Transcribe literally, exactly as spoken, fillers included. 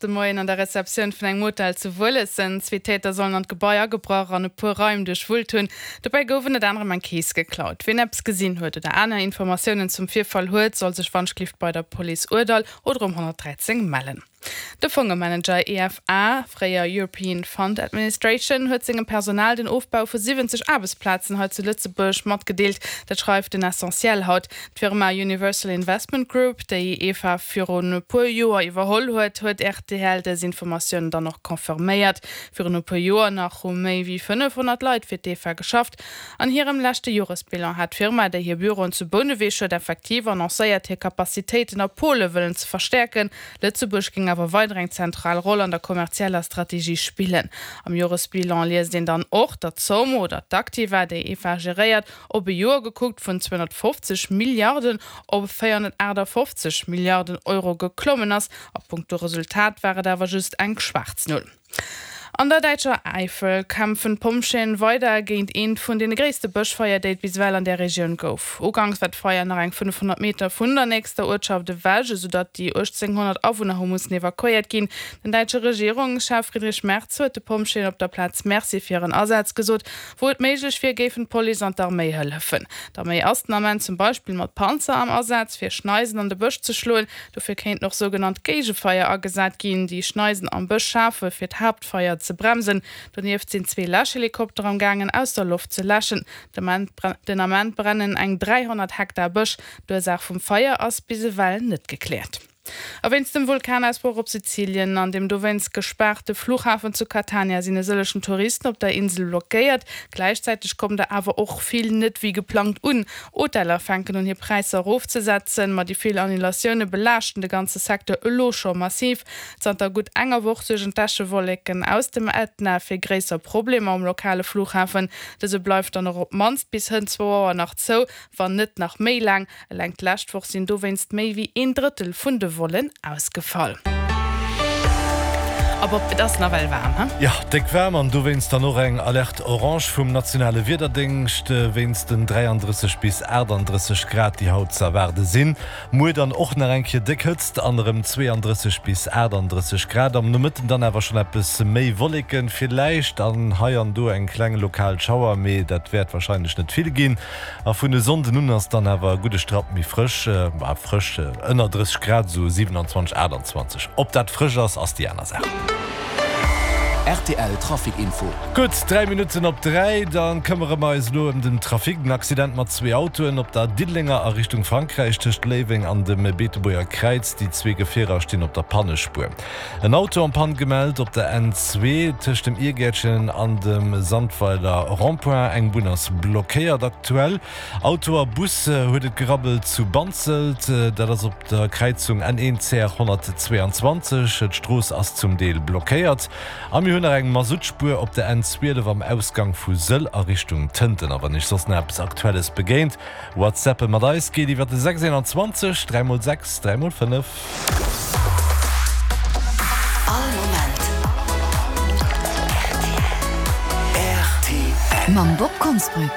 de Moien an der Receptioun vun engem Hotel zu Wuelessen. Zwee Täter sollen an d'Gebai agebrach an e puer Raim duerchwullt hunn. Dobäi gouf ënnert anerem eng Kees geklaut. Wien eppes gesinn huet oder aner Informatiounen zum Virfall huet, soll sech wannschlift bei der Police Ourdall oder um honnertdräizéng mellen. De Fongemanager E F A, fréier European Fund Administration, huet sengem Personal den Ofbau vu siwwenzeg Aarbechtsplazen hei zu Lëtzebuerg matgedeelt. Dat schreift den Essentiel haut. D'Firma Universal Investment Group, déi E F A virun e puer Joer iwwerholl huet, huet R T L dës Informatioun dann och confirméiert. Virun e puer Joer nach hu méi wéi fënnefhonnert Leit fir d'E F A geschafft. An hirem leschte Joresbilan hat d'Firma, déi hir Büroen zu Bouneweg huet, effektiv annoncéiert, hir Capacitéiten a Pole wëllen ze verstäerken. Lëtzebuerg géing awer weider eng zentral Roll an der kommerzieller Strategie spillen. Am Joresbilan liest een dann och, datt d'Zomm oder d'Aktiva, déi E F A geréiert, op e Joer gekuckt vun zweehonnertfofzeg Milliarden op véierhonnertaachtafoffzeg Milliarden Euro geklommen ass. A punkto Resultat war et awer just eng schwaarz Null. An der däitscher Äifel kämpfen d'Pompjeeën weider géint eent vun deene gréisste Bëschfeier, déi et bis ewell an där Regioun gouf. Uganks war d'Feier nach eng fënnefhonnert Meter vun der nächster Uertschaft ewech, esoudatt déi uechtzénghonnert Awunner hu mussen evakuéiert ginn. Den däitsche Regierungschef Friedrich Merz huet de Pompjeeën op der Plaz Merci fir hiren Asaz gesot. Wou et méiglech wier, géifen d'Police an d'Arméi hëllefen. D'Arméi ass den Ament zum Beispill mat Panzer am Asaz, fir Schneisen an de Bësch ze schloen. Dofir kéinten och sougenannt Géigefeier agesat ginn, déi Schneisen am Bësch schafe fir d'Haaptfeier ze bremsen. Donieft sinn zwee Läschhelikopter am gaangen aus der Loft ze läschen. Den Ament brennen eng dräihonnert Hektar Bësch. D'Ursaach vum Feier ass bis ewell net gekläert. A wéinst dem Vulkanausbroch op Sizilien an dem dowéinst gespaarte Fluchhafen zu Catania sinn e sëllechen Touristen op der Insel blockéiert. Gläichzäiteg kommen der awer och vill net wéi geplangt un. Hoteller fänken un hir Präisser erofzesetzen, ma déi vill Annulatioune belaaschten de ganze Secteur elo scho massiv. Zanter gutt enger Woch suergen d'Äschewolleken aus dem Ätna fir gréisser Problemer um lokale Fluchhafen. Dëse bleift dann och op d'mannst bis hënt zwou Auer nach zou, wann net nach méi laang. Eleng d'lescht Woch sinn dowéinst méi wéi een Drëttel vun de Vollen ausgefall. A Bob, et ass nawell waarm, he? Jo, déck waarm an dowéinst dann och eng Alerte orange vum nationale Wiederdéngscht wéinst den dräiandrësseg bis aachtanddrësseg Grad, déi haut ze erwaarde sinn. Muer dann och nach eng Kéier déck Hëtzt an erëm zweeandrësseg bis aachtanddrësseg Grad. Am Nomëtten dann awer schonn eppes méi Wolleken, villäicht an hei an do eng kleng lokal Schauer, mee dat wäert warscheinlech net vill ginn. A vun e Sonnden un ass dann awer e gudde Strapp méi frësch, bah frësch, ënner drësseg Grad, esou siewenanzwanzeg, aachtandzwanzeg. Ob dat frësch ass, ass déi aner Saach. R T L Trafic Info. Gutt dräi Minutten op dräi, da këmmere mer eis elo ëm den Trafic. Den Accident mat zwee Autoen op der Diddelenger a Richtung Frankräich tëscht Léiweng an dem Beetebuerger Kräiz. Déi zwee Gefierer stinn op der Pannespuer. En Auto en panne gemellt op der N zwee tëscht dem Irgäertchen an dem Sandweiler Rond-point. Eng Bunn ass blockéiert aktuell. Auto a Bus huet et gerabbelt zu Banzelt, dat ass op der Kräizung N een C R honnertzweeanzwanzeg. D'Strooss ass zum Deel blockéiert. A mir hunn nach eng Masuttspuer op der N zwielef am Ausgang vu Sëll a Richtung Tënten. A wann Iech soss nach eppes Aktuelles begéint, Whatsappe mat eis geet iwwer de sechs einundzwanzeg dräi mol sechs dräi mol fënnef. All Moment R T L. Mam Bob Konsbrück.